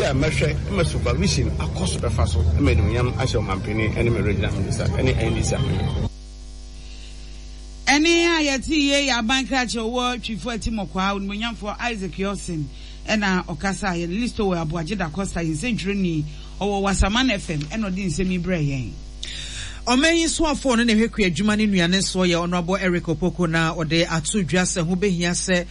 a mɛhwɛ ma supervision akɔ so bɛfa so ma animuonyam ahyɛ Ɔmanpanin ne me Regional Minister ne NDC amanyɔkuo. Ɛnne a yɛtee yei yɛ aban krakye a ɔwɔ Twifo Atimɔkwaa, Onimuonyamfoɔ Isaac Yorson na ɔkasaeɛ. Listowel Aboagye Da Costa yɛ nsɛntwerɛni, ɔwɔ Wasaman FM na ɔde nsɛm yi brɛɛ yɛn. Ɔman yi soafoɔ no na ɛhwɛ kuadwuma ne nnuane soɔ yɛ Honourable Eric Opoku na ɔde ato dwa sɛ ho bɛhia sɛ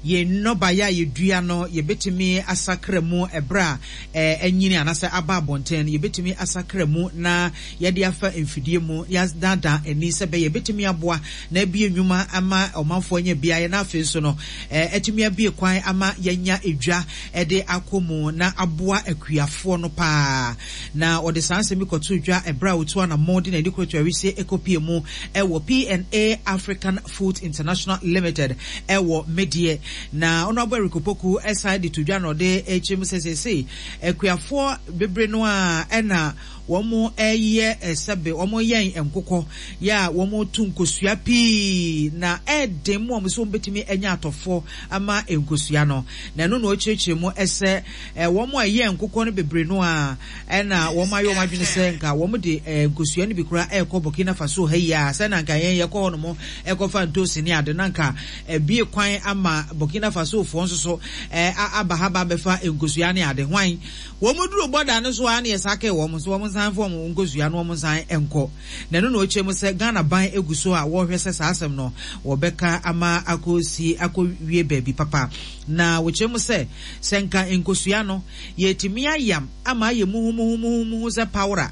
yɛn nnɔbaeɛ a yɛdua no yɛbɛtumi asakra mu ɛberɛ a anyini anaasɛ aba abɔnten no yɛbɛtumi asakra mu na yɛde afa mfidie mu na yɛadaadaa ani sɛ ɛbɛyɛ yɛbɛtumi aboa na abue nnwuma ama ɔmanfoɔ anya bi ayɛ na afei nso no atumi abue kwan ama yɛanya dwa de akɔ mu na aboa akuafoɔ no paa. Na ɔde saa nsɛm yi kɔtoo dwa ɛberɛ a ɔtuu anammɔn de n'ani kɔɔ Atuawisie kɔpie mu wɔ P&A African Foods International Limited wɔ Medeɛ. Na Honourable Eric Opoku san de to dwa na ɔde rekyerɛ mu sɛ seesei akuafoɔ bebree no ara na Wɔyɛ sɛbe wɔyɛn nkokɔ yɛ a wɔto nkosua pii na ɛyɛ den ma wɔn sɛ wɔbɛtumi anya atɔfoɔ ama nkosua no. Na ɛno na ɔkyerɛkyerɛ mu sɛ wɔn a ɛyɛn nkokɔ no bebree no ara na wɔayɛ wɔn adwene sɛ nka wɔde nkosua no bi koraa rekɔ Burkina Faso ha yi a sɛ na nka yɛn yɛkɔ hɔ nom kɔfa ntoosi ne ade na nka abue kwan ama Burkina Fasofoɔ nso so aba ha ba abɛfa nkosua ne ade. Hwan? Wɔduruu bɔda no so ara na yɛsakee wɔn sɛ wɔnsan mfa wɔn nkosua no wɔnsan nkɔ. Na ɛno na ɔkyerɛ mu sɛ Ghana ban gu so a wɔrehwɛ sɛ saa asɛm no wɔbɛka ama akɔsi akɔwie baabi papa. Na wɔkyerɛ mu sɛ sɛ nka nkosua no yɛtumi ayam ama ayɛ muhumuhumuhumuhu sɛ pawora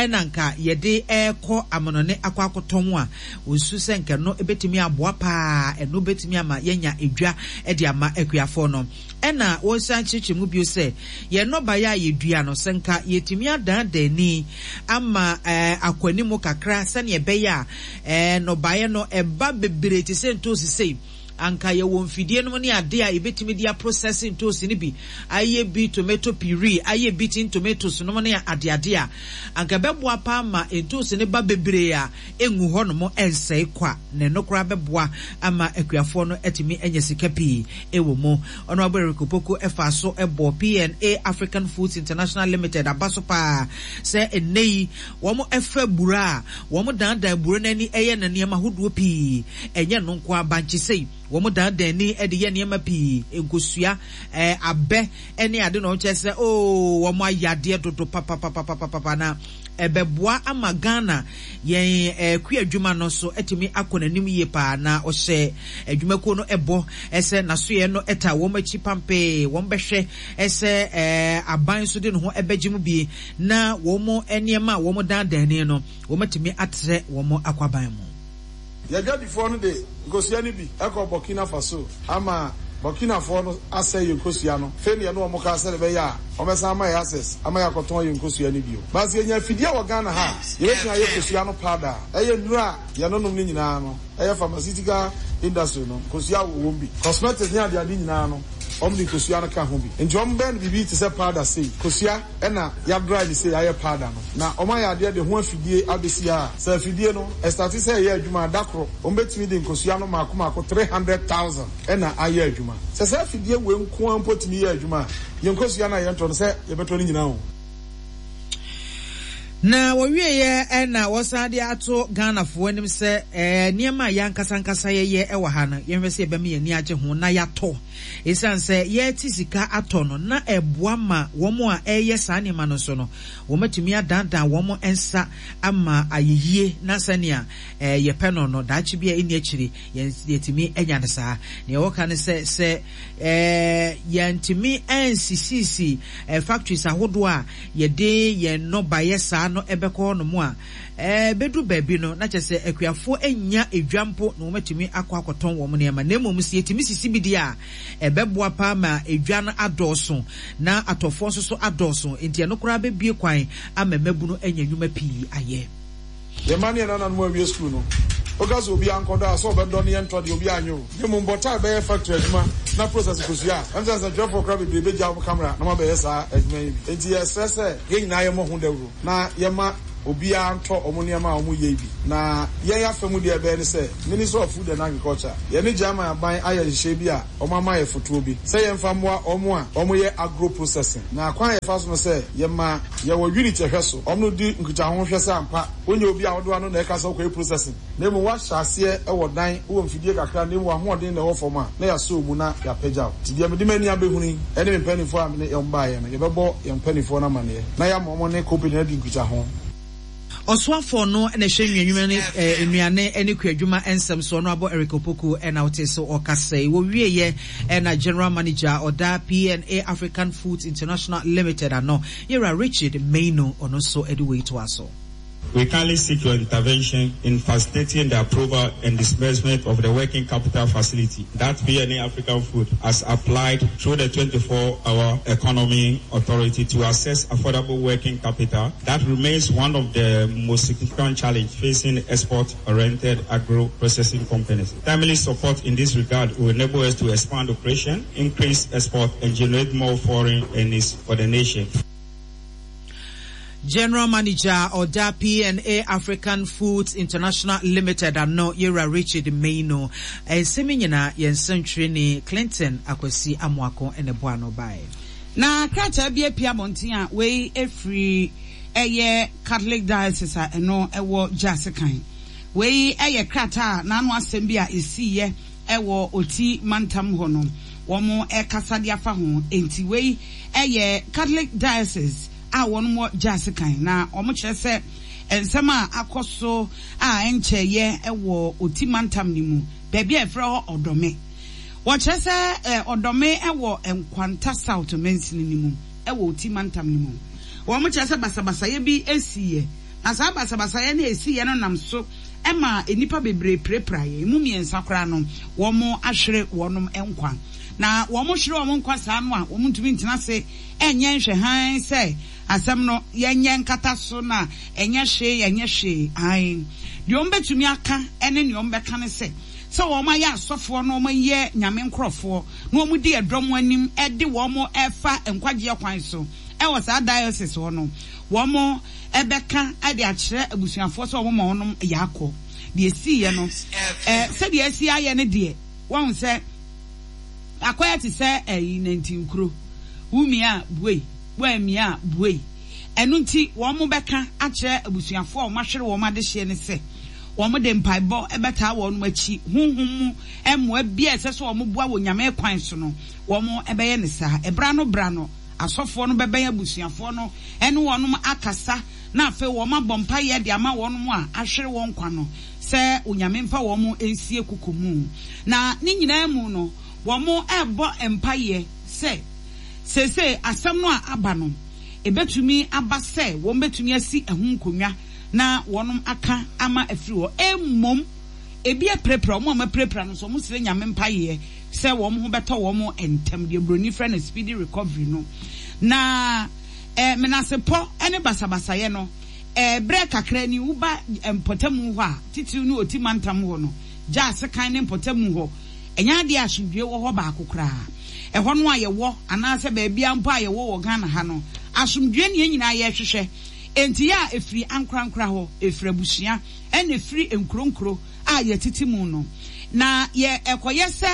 na nka yɛde rekɔ amanɔne akɔ akɔtɔn a, wɔsu sɛ nka ɛno bɛtumi aboa pa ara, ɛno bɛtumi ama yɛanya dwa de ama akuafoɔ no. Ɛnna wɔsan kyerɛkyerɛ mu bio sɛ, Yɛn nnɔbaeɛ a yɛdua no, sɛ nka yɛtumi adaadaa ani ama akɔ anim kakra sɛdeɛ ɛbɛyɛ a nnɔbaeɛ no ɛba bebree te sɛ ntoosi sei, anka yɛwɔ mfidie nom ne adeɛ a yɛbɛtumi de aprosɛse ntoosi no bi, ayɛ bi tomato puree, ayɛ bi tin tomatoes nom ne adeade a, anka ɛbɛboa paa ma ntoosi no ba bebree a ɛngu hɔnom ɛnsɛe kwa, na ɛno koraa bɛboa ama akuafoɔ no atumi anya sika pii. wɔ mu. Honourable Eric Opoku faa so bɔɔ PNA African Foods International Limited aba so paa sɛ nnɛ yi wɔfa aburo a wɔdandan aburo no ani yɛ no nneɛma ahodoɔ pii. Ɛnyɛ ɛno nko ara, bankye sei, wɔdandan ani de yɛ nneɛma pii, nkosua, abɛ ne ade na wɔkyerɛ sɛ oo wɔayɛ adeɛ dodo papapapapapa na ɛbɛboa ama Ghana yɛn kuadwuma no nso atumi akɔ n'anim yie paa na ɔhyɛ adwumakuo no bɔ sɛ n'asoɛeɛ no taa wɔn akyi pampee, wɔn bɛhwɛ sɛ aban nso de ne ho bɛgye mu bi na wɔn nneɛma a wɔn dandan ani no wɔn atumi atrɛ wɔn akwaban mu. Yɛn adwadifoɔ no de nkosua no bi kɔ Burkina Faso ama Burkinafoɔ no asɛe yɛn nkosua no. Afei na yɛne wɔn ka sɛdeɛ ɛbɛyɛ a wɔbɛsan ama yɛn access ama yɛakɔtɔn yɛn nkosua no bio. But sɛ yɛnya afidie wɔ Ghana ha a, yɛbɛtumi ayɛ kosua no powder a ɛyɛ nnuro a yɛnonom no nyinaa no, ɛyɛ pharmaceutical industry no, nkosua wɔ wɔm bi. Cosmetics ne adeade nyinaa no, wɔde nkosua no ka ho bi. Nti wɔbɛyɛ no biribi te sɛ powder sei, kosua. Ɛna ya dry no sei ayɛ powder no na wɔn ayɛ adeɛ de ho afidie abɛsi ha a sɛ afidie no ɛstate sɛ ɛyɛ adwuma a da koro wɔn bɛtumi de nkosua no maako maako 300,000 ɛna ayɛ adwuma. Sɛ saa afidie wei nko ara mpo tumi yɛ adwuma a yɛn nkosua no a yɛntɔ no sɛ yɛbɛtɔ no nyinaa o. Na wɔwieɛ na wɔsan de ato Ghanafoɔ anim sɛ nneɛma a yɛn ankasa ankasa yɛyɛ wɔ ha no yɛnhwɛ sɛ yɛbɛma yɛn ani agye ho na yɛatɔ. Esiane sɛ yɛrete sika atɔ no, na ɛboa ma wɔn a ɛreyɛ saa nneɛma no nso no, wɔatumi adaadaa wɔn nsa ama ayɛ yie na sɛnea yɛpɛ no no, daakye bi a ɛnni akyiri, yɛatumi anya no saa. Nea wɔka ne sɛ, sɛ yɛantumi ansisisi factories ahodoɔ a yɛde yɛn nnɔbaeɛ saa no bɛkɔ hɔnom a, Ɛbɛduru baabi no, na kyerɛ sɛ akuafoɔ nnya dwa mpo na wɔatumi akɔ akɔtɔn wɔn nneɛma. Na mmom sɛ yɛtumi sisi bi deɛ a, ɛbɛboa paa ma dwa no adɔɔso na atɔfoɔ nso so adɔɔso. Enti ɛno koraa bɛbue kwan ama mmabunu anya nnwuma pii ayɛ. Yɛn mma ne yɛn nananom awie sukuu no, woka sɛ obiara nkɔdɔ a, sɛ ɔbɛdɔ no yɛntɔ deɛ obiara nyɛ o. Na mmom bɔtɔ a ɛbɛyɛ factory adwuma na process kosua a, ɛm sɛ nsɛntwerɛfoɔ koraa bebree bɛgya wɔn camera na wɔabɛyɛ saa adwuma yi bi. Enti yɛsrɛ sɛ yɛn nyinaa yɛmmɔ ho dawuro na yɛma. obiara ntɔ wɔn nneɛma a wɔyɛ yi bi. Na yɛn afa mu deɛ ɛbɛyɛ ne sɛ, Ministry of Food and Agriculture, yɛne German aban ayɛ nhyehyɛe bi a wɔama yɛ fotoɔ bi sɛ yɛmfa mmoa wɔn a wɔyɛ agro processing. Na kwan a yɛfa so no sɛ yɛma yɛwɔ unit ɛhwɛ so, wɔn no di nkitaho hwɛ sɛ ampa wonyɛ obi a wode w'ano na ɛka sɛ wokɔyɛ processing na mmom woahyɛ aseɛ wɔ dan, wowɔ mfidie kakra na mmom w'ahoɔden na ɛwɔ fam a, na yɛasɔ wo mu na yɛapagya wo. Nti deɛ mede m'ani abɛhunu yi ne me mpanimfoɔ a mene wɔn baeɛ no, yɛbɛbɔ yɛn mpanimfoɔ no amaneɛ na yɛama wɔne company no adi nkitaho. Ɔsoafoɔ no na ɛhwɛ nnuanwuma ne nnuane ne kuadwuma nsɛm so, Honourable Eric Opoku na wotee so ɔkasa yi. Wɔwieɛ na General Manager a ɔda PNA African Foods International Limited ano, Yɛwura Richard Mainu, ɔno nso de wei toa so. We kindly seek your intervention in facilitating the approval and disbursement of the working capital facility that PNA African Food has applied through the 24-hour economy authority to access affordable working capital that remains one of the most significant challenges facing export-oriented agro-processing companies. Timely support in this regard will enable us to expand operation, increase export, and generate more foreign earnings for the nation. General Manager ɔda PNA African Foods International Limited ano Yewura Richard Maino. Nsɛm yi nyinaa yɛn nsɛntwerɛni Clinton Akwasi Amoako na ɛboa ano baeɛ. Na krataa bi apue abɔnten a wei firi ɛyɛ Catholic Diocese a ɛno ɛwɔ Gyase kan. Wei yɛ krataa a n'ano asɛm bi a ɛsiiɛ ɛwɔ Oti mantam hɔ no wɔn ɛkasa de afa ho. Enti wei yɛ Catholic Diocese a wɔn wɔ Gyase kan na wɔn kyerɛ sɛ nsɛm a akɔ so a ɛnkyɛeɛ wɔ Oti mantam no mu baabi a yɛfrɛ hɔ Ɔdɔme. Wɔkyerɛ sɛ Ɔdɔme wɔ Nkwanta South mansini no mu wɔ Oti mantam no mu. Wɔkyerɛ sɛ basabasayɛ bi siiɛ, na saa basabasayɛ no a ɛsiiɛ no nam so maa nnipa bebree pirapiraeɛ. Emu mmiɛnsa koraa no, wɔahwere wɔn nkwa. Na wɔhwere wɔn nkwa saa no a, wɔntumi ntena ase nyɛ nhwɛhann sɛ asɛm no yɛnyɛ nkata so na ɛnyɛ hwee, ɛnyɛ hwee. Aane, deɛ wɔbɛtumi aka ne nea wɔbɛka ne sɛ, sɛ wɔayɛ asɔfoɔ na wɔyɛ Nyame nkorɔfoɔ na wɔdi ɛdɔm anim de wɔn fa nkwagyeɛ kwan so wɔ saa diocese hɔ no, wɔn bɛka de akyerɛ abusuafoɔ sɛ wɔn ma wɔnom yɛ akɔ. Deɛ ɛsiiɛ no, sɛdeɛ asi ayɛ no deɛ, woahu sɛ akɔyɛ te sɛ ɛyi nantinkuro, wo mia a buei, woammia a buei. Ɛno nti wɔbɛka akyerɛ abusuafoɔ a wɔahwere wɔn adehyeɛ no sɛ wɔde mpaebɔ bɛtaa wɔn akyi, honhom mu mmoa biara a ɛsɛ sɛ wɔboa wɔ Nyame kwan so no, wɔbɛyɛ no saa. Ɛberɛ ano berɛ ano, asɔfoɔ no bɛbɛn abusuafoɔ no ne wɔn akasa na afei wɔabɔ mpaeɛ de ama wɔn a ahwere wɔn nkwa no sɛ Onyame mfa wɔn nsie koko mu. Na ne nyinaa mu no, wɔrebɔ mpaeɛ sɛ seesei asɛm no a aba no, Ebetumi aba sɛ wɔbetumi asi ɛho nkonnwa na wɔaka ama afiri hɔ. Mmom, ebi apirapira wɔn a wɔapirapira no nso, wɔsrɛ Nyame mpaeɛ sɛ wɔn ho bɛtɔ wɔn ntɛm, deɛ buroni frɛ no speedy recovery no. Na eh, menasepɔ ne basabasayɛ no, eh, berɛ kakra ni, woba mpɔtamu hɔ a, titiriw ne Oti mantam hɔ no, gyaa sekan ne mpɔtamu hɔ, Ɛnyɛ adeɛ a asomdwoeɛ wɔ hɔ baako koraa. Ɛhɔ no a yɛwɔ anaasɛ baabiara mpo a yɛwɔ wɔ Ghana ha no, asomdwoeɛ na yɛn nyinaa yɛrehwehwɛ. Enti yɛ a ɛfiri ankorankora hɔ, ɛfiri abusua, ɛna ɛfiri nkuro nkuro a yɛtete mu no. Na yɛ ɛkɔyɛ sɛ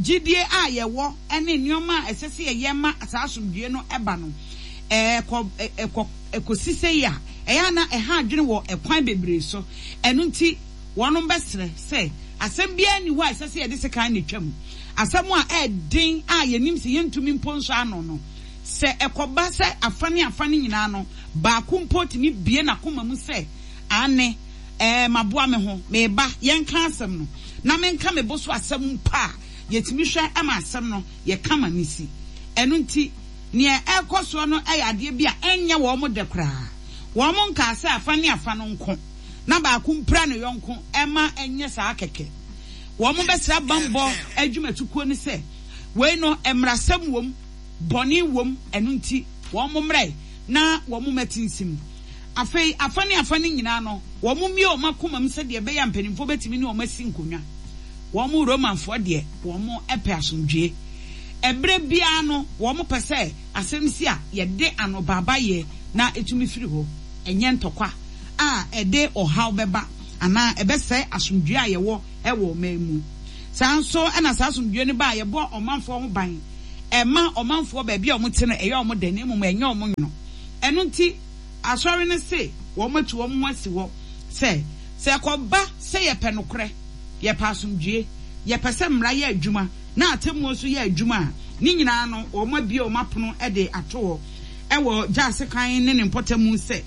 gyidie a yɛwɔ ne nneɛma a ɛsɛ sɛ yɛyɛ ma saa asomdwoeɛ no ba no, ɛkɔ, ɛkɔ, ɛkɔsi sei a, ɛyɛ a na ɛha adwene wɔ ɛkwan bebree so. Ɛno nti, Wɔnom bɛsrɛ sɛ, Asɛm biara nni hɔ a ɛsɛ sɛ yɛde sekan na etwa mu. Asɛm a ɛyɛ den a yɛnim sɛ yɛntumi mpo nsɔ ano no, sɛ ɛkɔba sɛ afa ne afa no nyinaa no baako mpo tumi bue n'akoma mu sɛ, Aane, ɛɛ, maboa me ho, mereba, yɛnka asɛm no, na menka me bo so asɛm mpo a, yɛtumi hwɛ ma asɛm no yɛ kama no si. Ɛno nti, nea ɛrekɔ soɔ no yɛ adeɛ bi a ɛnyɛ wɔn dɛ koraa. Wɔn nkaa sɛ afa ne afa no nko. na baako mpira ne yɔnko mma ɛnyɛ saa kɛkɛ. Wɔbɛsrɛ bammɔ adwumatukuo no sɛ, wei no mmarasɛm wom, bɔne wom, ɛno nti wɔmmrɛ na wɔmmɛ tinsim. Afei afa ne afa no nyinaa no, wɔmmue wɔn akoma mu sɛdeɛ ɛbɛyɛ a mpanimfoɔ bɛtumi ne wɔn asi nkonnwa. Wɔn Romanfoɔ deɛ, wɔpɛ asomdwoeɛ. Ɛberɛ biara no, wɔpɛ sɛ asɛm si a, yɛde anobaabayɛ na ɛtumi firi hɔ, ɛnyɛ ntɔkwa. a ɛde ɔhaw bɛba anaa ɛbɛsɛe asomdwoeɛ a yɛwɔ wɔ ɔman mu. Saa ara nso na saa asomdwoeɛ no ba a, yɛbɔ ɔmanfoɔ ho ban. Ɛma ɔmanfoɔ baabi a wɔte no ɛyɛ wɔn dɛ na mmom ɛnyɛ wɔn nwono. Ɛno nti, Asɔre no se wɔatu wɔn ho asi hɔ sɛ, sɛ ɛkɔba sɛ yɛpɛ nokorɛ, yɛpɛ asomdwoeɛ, yɛpɛ sɛ mmara yɛ adwuma na atemmuo nso yɛ adwuma a, ne nyinaa no wɔabue wɔn apono de ato hɔ wɔ Gyaase kwan ne ne mpɔtamu sɛ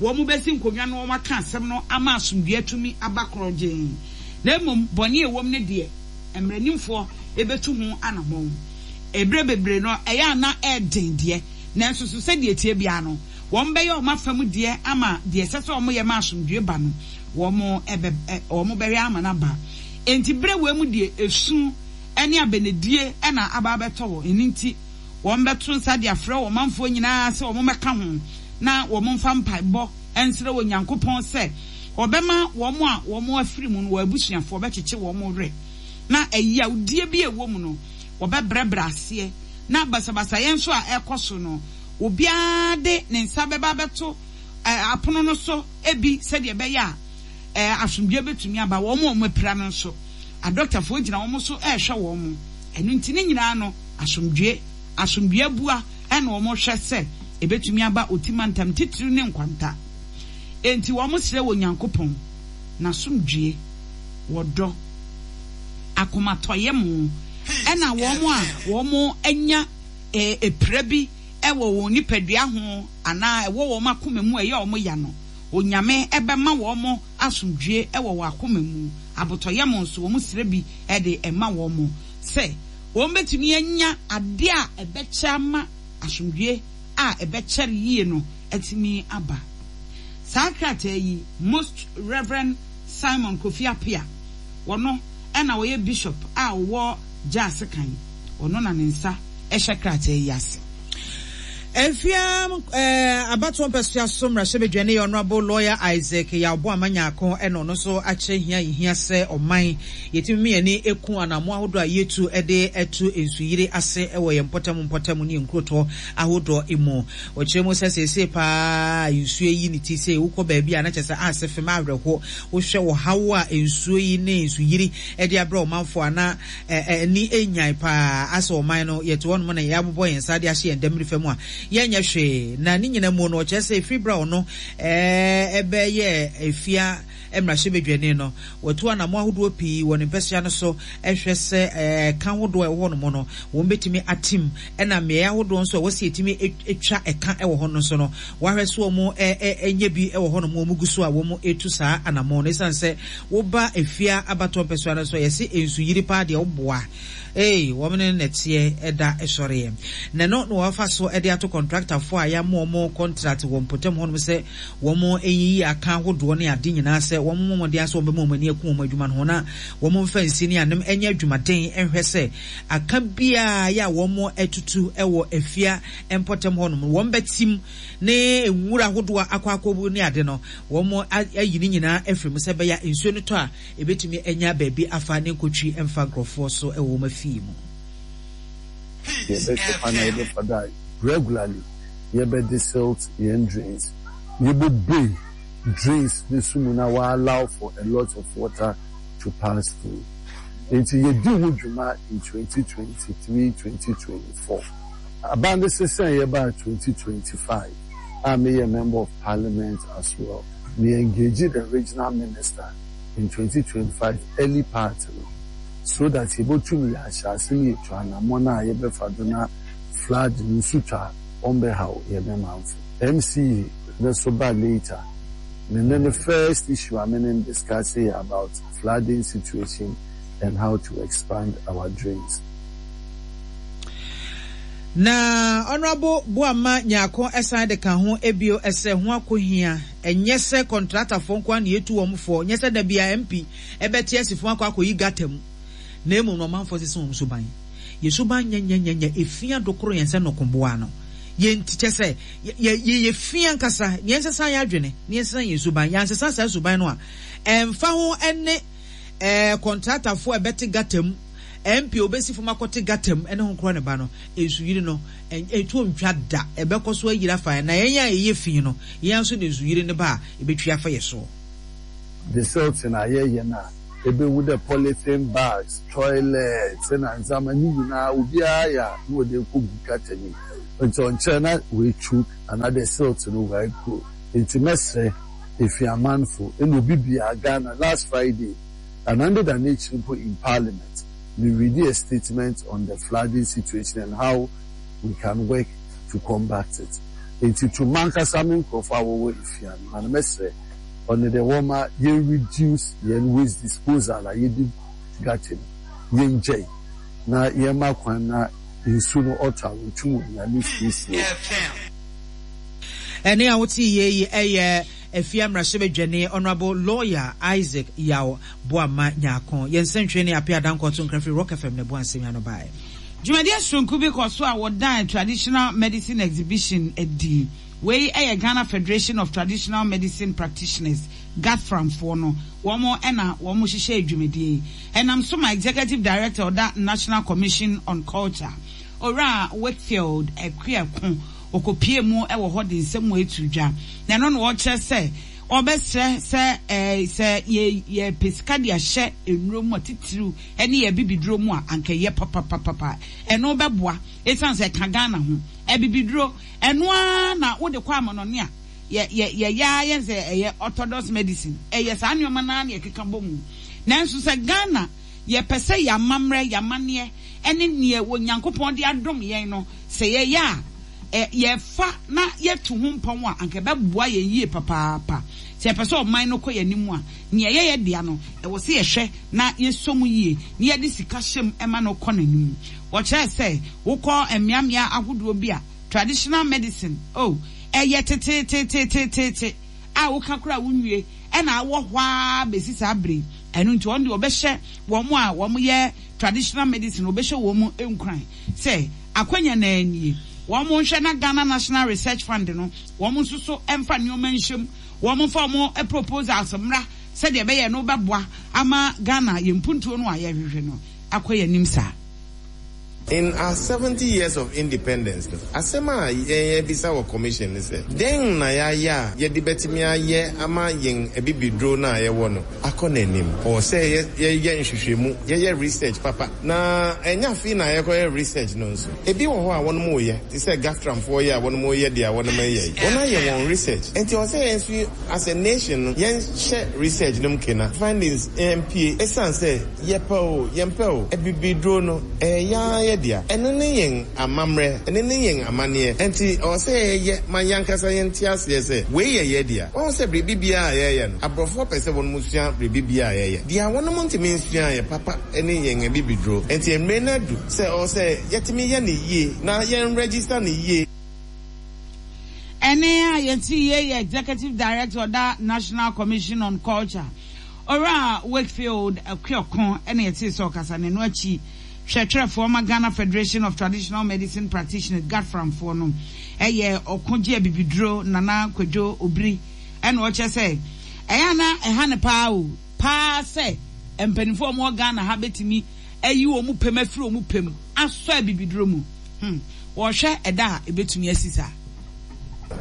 wɔbɛsi nkonnwa na wɔaka asɛm no ama asomdwoeɛ atumi aba korɔgyenn. Na mmom bɔne a ɛwom no deɛ, mmaranimfoɔ bɛtu ho anammɔn. Berɛ bebree no, ɛyɛ a na ɛyɛ den deɛ, nanso so sɛdeɛ ɛteɛ biara no, wɔbɛyɛ wɔn afa mu deɛ ama deɛ ɛsɛ sɛ wɔyɛ ma asomdwoeɛ ba no, wɔbɛhwɛ ama no aba. Enti berɛ wei mu deɛ, esu ne abɛnedie na aba abɛtɔ hɔ. Ɛno nti, wɔbɛto nsa de afrɛ wɔn manfoɔ nyinaa sɛ wɔmmɛka ho na wɔmfa mpaebɔ nsrɛ Onyankopɔn sɛ ɔbɛma wɔn a wɔafiri mu no, wɔn abusuafoɔ bɛkyekye wɔn werɛ, na ɛyawdie bi a ɛwɔ mu no, wɔbɛbrɛbrɛ aseɛ, na basabasayɛ nso a ɛrekɔ so no, obiara de ne nsa bɛba abɛto apono no so bi sɛdeɛ ɛbɛyɛ a asomdwoeɛ bɛtumi aba. Wɔn a wɔapira no nso, adɔktafoɔ gyina wɔn so rehwɛ wɔn. Ɛno nti ne nyinaa no, asomdwoeɛ, asomdwoeɛ abua na wɔhwɛ sɛ ɛbɛtumi aba Oti mantam titiriw ne Nkwanta. Enti wɔsrɛ Onyankopɔn n'asomdwoeɛ, wɔdɔ, akomatɔyam, ɛna wɔn a wɔanya pira bi wɔ wɔn nipadua ho anaa ɛwɔ wɔn akoma mu a ɛyɛ wɔn ya no, Onyame bɛma wɔn asomdwoeɛ wɔ wɔn akoma mu, abotɔyam nso wɔsrɛ bi de ma wɔn sɛ wɔbɛtumi anya adeɛ a ɛbɛkyɛ ama asomdwoeɛ a ɛbɛkyɛre yie no atumi aba. Saa krataa yi, Most Rev. Simon Kofi Appiah, ɔno na ɔyɛ Bishop a ɔwɔ Gyaase kan, ɔno na ne nsa hyɛ krataa yi ase. Mfeam abatoɔ mpɛsoa so mmarahyɛbadwani Honourable Lawyer Isaac Yaw Boamah Nyarko na ɔno nso akyerɛ hia a ɛhia sɛ ɔman yɛtumi ma yɛn ani ku anammɔn ahodoɔ a yɛtu de to nsuyiri ase wɔ yɛn mpɔtam mpɔtam ne yɛn nkurotoɔ ahodoɔ mu. Ɔkyerɛ mu sɛ seesei paa nsuo ayi ne ti sɛ wokɔ baabi a na kyerɛ sɛ ase fem awerɛho. Wohwɛ ɔhaw a nsuo yi ne nsuyiri de abrɛ ɔmanfoɔ a na ani nnyae paa. Asɛ ɔman no yɛte hɔnom na yɛabobɔ yɛn nsa de ahyɛ yɛn dammiri mu a yɛnyɛ hwee. Na ne nyina mu no ɔkyerɛ sɛ ɛfiri berɛ a ɔno bɛyɛɛ Afia mmarahyɛbadwani no, watu anammɔn ahodoɔ pii wɔ ne mpɛsoa no so hwɛ sɛ ɛka ahodoɔ a ɛwɔ hɔnom no wɔbɛtumi atim ɛna mmeaeɛ ahodoɔ nso a ɛwɔ sɛ yɛtumi twa ɛka wɔ hɔ no nso no wɔahwɛ sɛ wɔn nyɛ bi wɔ hɔnom wɔn gu so a wɔn retu saa anammɔn no. Ɛsiane sɛ woba Afia abatoɔ mpɛsoa no so a yɛse nsuyiri paa deɛ woboa Ei, wɔn ne nnɛteɛ da sɔreɛ. Na ɛno na wɔafa so de ato kɔntraktafoɔ a yɛama wɔn kɔntrat wɔ mpɔtam hɔnom sɛ wɔnyiyi aka ahodoɔ ne ade nyinaa sɛ wɔmmɔ mmɔden ara sɛ wɔbɛma wɔn ani aku wɔn adwuma no ho na wɔmfa nsi ne anem nyɛ adwumaden nhwɛ sɛ aka biara yɛ a wɔatutu wɔ afia mpɔtam hɔnom no wɔbɛtim ne nwura ahodoɔ a akɔ akɔwu ne ade no wɔayi ne nyinaa afiri mu sɛ ɛbɛyɛ a nsuo no tɔ a Ebetumi anya baabi afa ne nkotwi mfa nkurɔfoɔ so wɔ wɔn afie mu. Yɛbɛhwɛ kwan a yɛbɛfa do a regularly yɛbɛ desilt hɛn drains, yebobue drains no so mu na wɔ allow for a lot of water to pass through. Ntsi yedii ho dwuma in 2023, 2024. Aban no sesae yɛbaa 2025 a meyɛ Member of Parliament as well. Me engage the regional minister in 2025 early part no so that yebotum yɛahyɛ ase na yetu anamɔn a yɛbɛfa do na flood no nsu tɔ a ɔmmbɛhaw hɛn mamfo. MCE no so ba later, me ne no first issue a me ne no discuss yɛ about flooding situation and how to expand our drains. Na Honourable Boamah Nyarko san de ka ho bio sɛ ho akohia ɛnyɛ sɛ kɔntratafoɔ nko ara na yɛtu wɔn foɔ, nyɛ sɛ da biara MP bɛte asi fam akɔ akɔyi gutter mu, na mmom no ɔmanfoɔ sesa wɔn suban. Yɛn suban nyɛnyɛnyɛnyɛ, efi adokoro yɛn sɛ nnokoboa no. Yɛn nti, kyerɛ sɛ, yɛ, yɛyɛ fi ankasa, na yɛnsesa yɛn adwene, na yɛnsesa yɛn suban. Yɛansesa saa suban no a, ɛmfa ho ne ɛɛ kɔntratafoɔ a ɛbɛte gutter mu, MP obesi fam akɔte gutter mu ne ho korɔ ne ba no, nsuyiri no, ɛtoɔ ntwa da, ɛbɛkɔ so ayiri afa yɛn, na yɛn a yɛyɛ fi no, yɛn ara nso na nsuyiri no ba a, ɛbɛtwi afa yɛn soɔ. Desilting a yɛyɛ no a, ebehu dɛ polythene bags, toilets na ndzɛmba ne nyina obiara yɛ a na wɔdze ekogu gutter no mu. Ntsi ɔnnkyɛr na oetwuuk anaadɛ silt no oegrow. Ntsi mɛserɛ Efiamanfo na obi biara, Ghana, last Friday anaa ndeda n'ekyir mpo in parliament, me readie a statement on the flooding situation and how we can work to combat it. Ntsi to mankasa me nkorɔfo a wɔwɔ Efia no, na mɛserɛ ɔno dɛ wɔma yɛn reduce yɛn waste disposal a yɛde gu gutter mu, yɛngyae na yɛmma kwan na nsu no ɔtɔ a wɔtum onya ne free flow. Ɛnne a wote yie yi yɛ Afia Mmarahyɛbadwani Honourable Lawyer Isaac Yaw Boamah Nyarko. Yɛn nsɛntwerɛni ne Appiah Dankwa to nkra firi Rock FM na ɛboa nsɛm yi ano baeɛ. Dwumadie soronko bi kɔ so a wɔdan Traditional Medicine Exhibition adi. Wei yɛ Ghana Federation of Traditional Medicine Practitioners, GATFRAM, foɔ no, wɔn na wɔn hyehyɛɛ dwumadie yi. Ɛnam so ma Executive Director ɔda National Commission on Culture, Owura Wakefield Akuako, ɔkɔpuee mu wɔ hɔ de nsɛm wei too dwa. Na ɛno na ɔkyerɛ sɛ ɔbɛsrɛ sɛ sɛ yɛpɛ sika de ahyɛ nnuro mu a, titiriw ne yɛn abibiduro mu a, anka ɛyɛ papapapapa. Ɛno bɛboa ɛsiane sɛ ɛka Ghana ho. Abibiduro, Ɛno ara na wode kɔ amanɔne a, yɛ, yɛ, yɛyɛ ara yɛn sɛ ɛyɛ orthodox medicine. Ɛyɛ saa nneɛma no ara na yɛkeka bɔ mu. Nanso sɛ Ghana, yɛpɛ sɛ yɛn amammerɛ, yɛn amanneɛ, ne deɛ Onyankopɔn de adom yɛn no, sɛ yɛyɛ a, ɛ, yɛfa na yɛtu ho mpɔn a, anka ɛbɛboa yɛn yie papaapa. Sɛ yɛpɛ sɛ ɔman no kɔ yɛn anim a, nea ɛyɛ yɛn dea no, ɛwɔ sɛ yɛhwɛ na yɛsɔ mu yie, na yɛde sika hyɛ mu ma no kɔ n'anim. Wɔkyerɛɛ sɛ wokɔ mmeammea ahodoɔ bi a, traditional medicine, oh, ɛyɛ teteeteeteeteete a woka koraa a wonwie, ɛna awɔ hɔ ara bɛsi saa berɛ yi. Ɛno nti wɔn deɛ wɔbɛhyɛ wɔn a wɔyɛ traditional medicine, wɔbɛhyɛ wɔn nkuran sɛ akwanya no ara nie, wɔn nhwɛ na Ghana National Research Fund no, wɔn nso so mfa nneɛma nhyɛ mu, wɔn mfa wɔn proposals mmra sɛdeɛ ɛbɛyɛ ɛno bɛboa ama Ghana yɛn mpuntuo no a yɛrehwehwɛ no akɔ yɛn anim saa. In our 70 years of independence no, asɛm a yɛn yɛbisa wɔ commission ne sɛ, dɛn na yɛayɛ a yɛde bɛtumi ayɛ ama yɛn abibiduro no a yɛwɔ no akɔ n'anim? Ɔwɔ sɛ yɛyɛ nhwehwɛmu, yɛyɛ research papa. Na ɛnyɛ afei na yɛkɔyɛ research no nso. Ebi wɔ hɔ a wɔnom reyɛ, te sɛ Gaftramfoɔ yɛ a wɔnom reyɛ deɛ wɔnom reyɛ yi. Wɔn ayɛ wɔn research. Nti ɔwɔ sɛ yɛn nso as a nation no, yɛnhyɛ research no mu kena, findings mpue. Esiane sɛ Yɛpɛ o, yɛmpɛ o, abibiduro no, ɛyɛ yɛn ara yɛn dea. Ɛno ne yɛn amammerɛ, ɛno ne yɛn amanneɛ. Enti ɛwɔ sɛ yɛyɛ ma yɛn ankasa yɛnte aseɛ sɛ wei yɛ yɛn dea. Woahu sɛ biribi biara a yɛyɛ no, aborɔfoɔ pɛ sɛ wɔnom sua biribi biara a yɛyɛ. Deɛ wɔnom ntumi nsuaeɛ papa ne yɛn abibiduro. Enti mmerɛ no adu sɛ ɛwɔ sɛ yɛtumi yɛ no yie na yɛn register no yie. Ɛnne a yɛte yie yɛ Executive Director ɔda National Commission on Culture, Owura Wakefield Akuoko na yɛtee sɛ ɔkasa na ɛno akyi hwɛtwerɛfoɔ ma Ghana Federation of Traditional Medicine Practitioners, GATFRAM, foɔ no yɛ ɔko gye abibiduro Nana Kwadwo Obiri ɛna ɔkyerɛ sɛ ɛyɛ a na ɛha no paa o paa sɛ mpanimfoɔ a wɔwɔ Ghana ha bɛtumi ayi wɔn pɛm afiri wɔn pɛm asɔ abibiduro mu. Hmm, wɔhwɛ ɛda a ɛbɛtumi asi saa.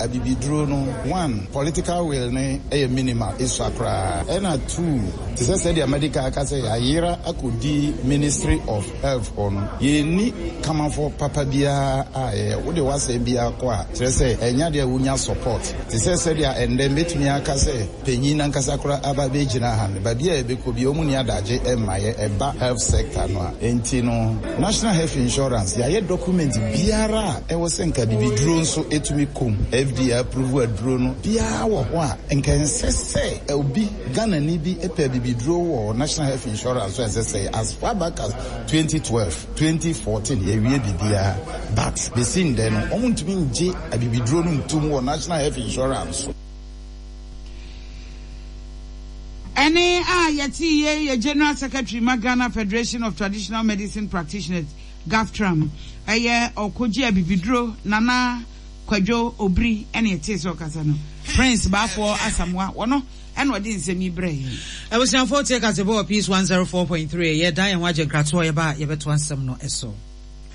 Abibiduro no, one, political will no yɛ minimal, esua koraa. Ɛna two, te sɛ sɛdeɛ medical aka sɛ yɛayera akɔdi Ministry of Health hɔ no, yɛnni kamafoɔ papa biara a ɛyɛ. Wode w'asɛm biara kɔ a, kyerɛ sɛ ɛnyɛ adeɛ a wonya support. Te sɛ sɛdeɛ ɛnnɛ mɛtumi aka sɛ Panyin no ankasa koraa aba abɛgyina ha no, baabi a yɛbɛkɔ biara, wɔn nni adagye mma yɛ, ɛba health sector no a. Enti no, National Health Insurance, yɛayɛ document biara a ɛwɔ sɛ nka bibiduro nso tumi kɔ mu, FDA approve aduro no, biara wɔ hɔ a, nka ɛnsɛ sɛ obi, Ghanani bi pɛ bibiduro wɔ National Health Insurance so a ɛsɛ sɛ, as far back as 2012, 2014, yɛawie biribiara, but bɛsi ndɛ no, wɔntumi ngye abibiduro no ntom wɔ National Health Insurance so. Ɛnne a yɛtee yei yɛ General Secretary ma Ghana Federation of Traditional Medicine Practitioners, GAFTRAM, ɛyɛ Ɔkogye Abibiduro Nana Kwadwo Obiri ɛna yɛtee sɛ ɔkasa no. Prince Baafoɔ Asamoah, wɔno ɛna ɔde nsɛm yi brɛɛ yɛn. Abusuafoɔ tie Kasebɔ wɔ Peace 104.3. Yɛdan yɛn ho agye nkratoɔ, yɛba a yɛbɛtoa nsɛm no so.